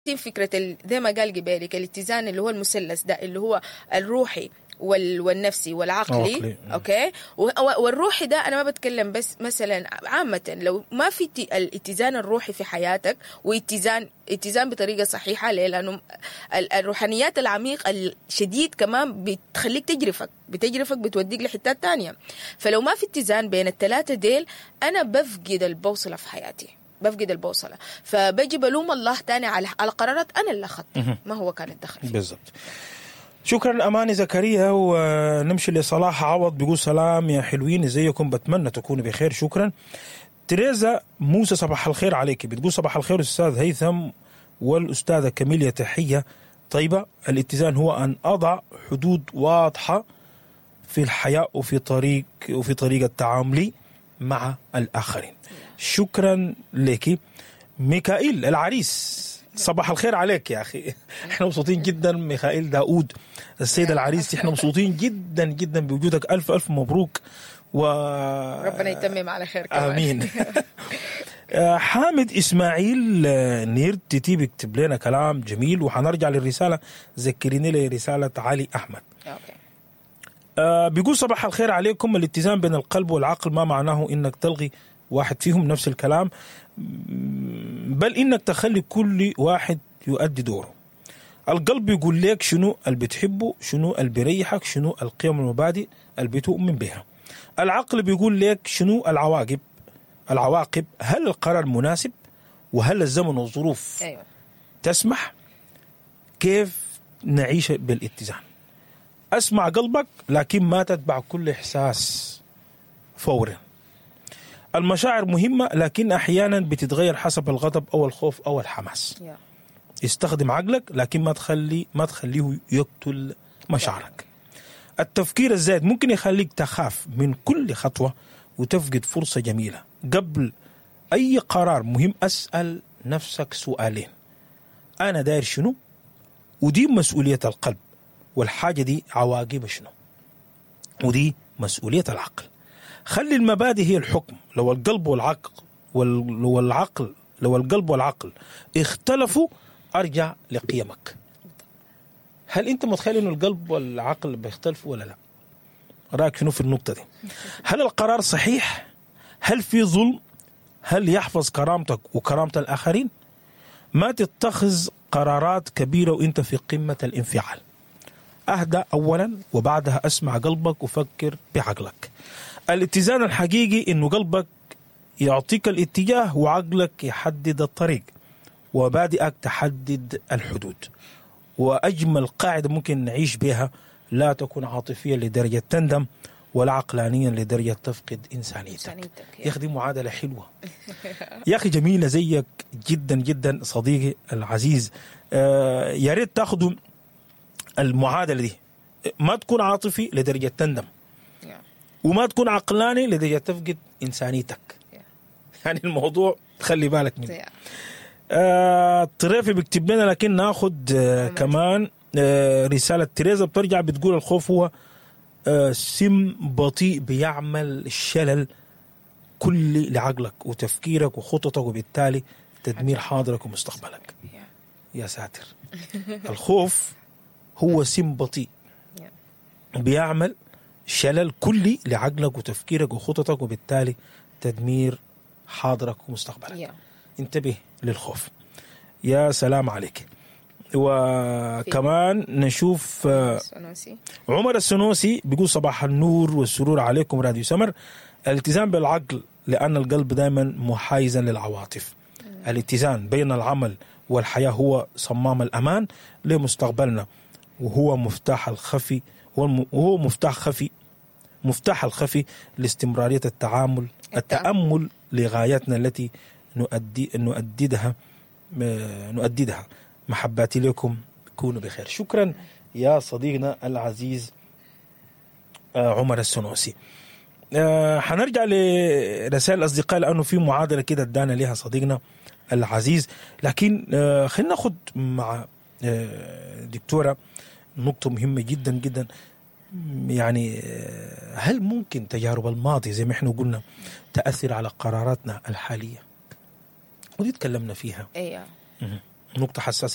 فكرة زي ما قال قبالك الاتزان اللي هو المثلث ده، اللي هو الروحي والنفسي والعقلي. عقلي. okay، والروحي ده انا ما بتكلم بس مثلا عامة، لو ما في الاتزان الروحي في حياتك واتزان اتزان بطريقة صحيحه، ليه؟ لانه الروحانيات العميق الشديد كمان بتخليك تجرفك، بتجرفك، بتوديك لحتات تانية. فلو ما في اتزان بين الثلاثة ديل، انا بفقد البوصلة في حياتي، بفقد البوصله، فبجي بلوم الله تاني على قرارات انا اللي اخذتها، ما هو كان الدخل فيها. بالضبط. شكرا اماني زكريا. ونمشي لصلاح عوض، بيقول سلام يا حلوين، ازيكم؟ بتمنى تكونوا بخير. شكرا. تريزا موسى، صباح الخير عليك، بتقول صباح الخير استاذ هيثم والاستاذه كاميليا، تحية طيبه. الاتزان هو ان اضع حدود واضحة في الحياة وفي طريقه تعاملي مع الاخرين. شكرا لك. ميكائيل العريس، صباح الخير عليك يا اخي، احنا مبسوطين جدا. ميخائيل داوود السيد العريس، احنا مبسوطين جدا جدا بوجودك، الف الف مبروك و ربنا يتمم على خير كمان. امين. حامد اسماعيل نير تيتي بيكتب لنا كلام جميل، وحنرجع للرساله، ذكريني لرساله علي احمد. okay. بيقول صباح الخير عليكم. الاتزان بين القلب والعقل ما معناه انك تلغي واحد فيهم، نفس الكلام، بل انك تخلي كل واحد يؤدي دوره. القلب يقول لك شنو اللي بتحبه، شنو اللي بيريحك، شنو القيم والمبادئ اللي بتؤمن بها. العقل بيقول لك شنو العواقب، هل القرار مناسب، وهل الزمن والظروف تسمح. كيف نعيش بالاتزان؟ اسمع قلبك لكن ما تتبع كل احساس فورا. المشاعر مهمة لكن احيانا بتتغير حسب الغضب او الخوف او الحماس. استخدم عقلك لكن ما تخليه يقتل مشاعرك. التفكير الزايد ممكن يخليك تخاف من كل خطوة وتفقد فرصة جميلة. قبل أي قرار مهم أسأل نفسك سؤالين: أنا داير شنو؟ ودي مسؤولية القلب، والحاجة دي عواقبها شنو؟ ودي مسؤولية العقل. خلي المبادئ هي الحكم. لو القلب والعقل اختلفوا، ارجع لقيمك. هل انت متخيل انه القلب والعقل بيختلفوا ولا لا؟ رايك شنو في النقطة دي؟ هل القرار صحيح؟ هل في ظلم؟ هل يحفظ كرامتك وكرامة الاخرين؟ ما تتخذ قرارات كبيرة وانت في قمة الانفعال. اهدأ اولا وبعدها اسمع قلبك وفكر بعقلك. الاتزان الحقيقي انه قلبك يعطيك الاتجاه وعقلك يحدد الطريق ومبادئك تحدد الحدود. واجمل قاعدة ممكن نعيش بها: لا تكون عاطفيا لدرجة تندم، ولا عقلانيا لدرجة تفقد انسانيتك. إنسانيتك. يا اخي دي معادلة حلوه، يا اخي جميلة زيك جدا جدا صديقي العزيز. يا ريت تاخذوا المعادلة دي، ما تكون عاطفي لدرجة تندم وما تكون عقلاني لدرجة تفقد انسانيتك. يعني الموضوع خلي بالك منه. الطريفي بيكتب لنا، لكن ناخذ كمان رسالة تريزا، بترجع بتقول الخوف هو سم بطيء بيعمل شلل كلي لعقلك وتفكيرك وخططك، وبالتالي تدمير حاضرك ومستقبلك. يا ساتر، الخوف هو سم بطيء بيعمل شلل كلي لعقلك وتفكيرك وخططك، وبالتالي تدمير حاضرك ومستقبلك. انتبه للخوف. يا سلام عليك. وكمان نشوف سنوسي. عمر السنوسي بيقول صباح النور والسرور عليكم راديو سمر. الاتزان بالعقل لأن القلب دائما محايزا للعواطف. الاتزان بين العمل والحياة هو صمام الأمان لمستقبلنا، وهو مفتاح الخفي وهو مفتاح الخفي لاستمرارية التعامل التأمل لغاياتنا التي نؤدي نؤددها نؤددها. محباتي لكم، كونوا بخير. شكرا يا صديقنا العزيز عمر السنوسي. حنرجع لرسائل الأصدقاء لأنه في معادلة كده ادانا لها صديقنا العزيز، لكن خلينا ناخد مع دكتورة نقطة مهمة جدا جدا. يعني هل ممكن تجارب الماضي زي ما احنا قلنا تأثر على قراراتنا الحالية؟ ودي تكلمنا فيها. ايوه. نقطة حساسة.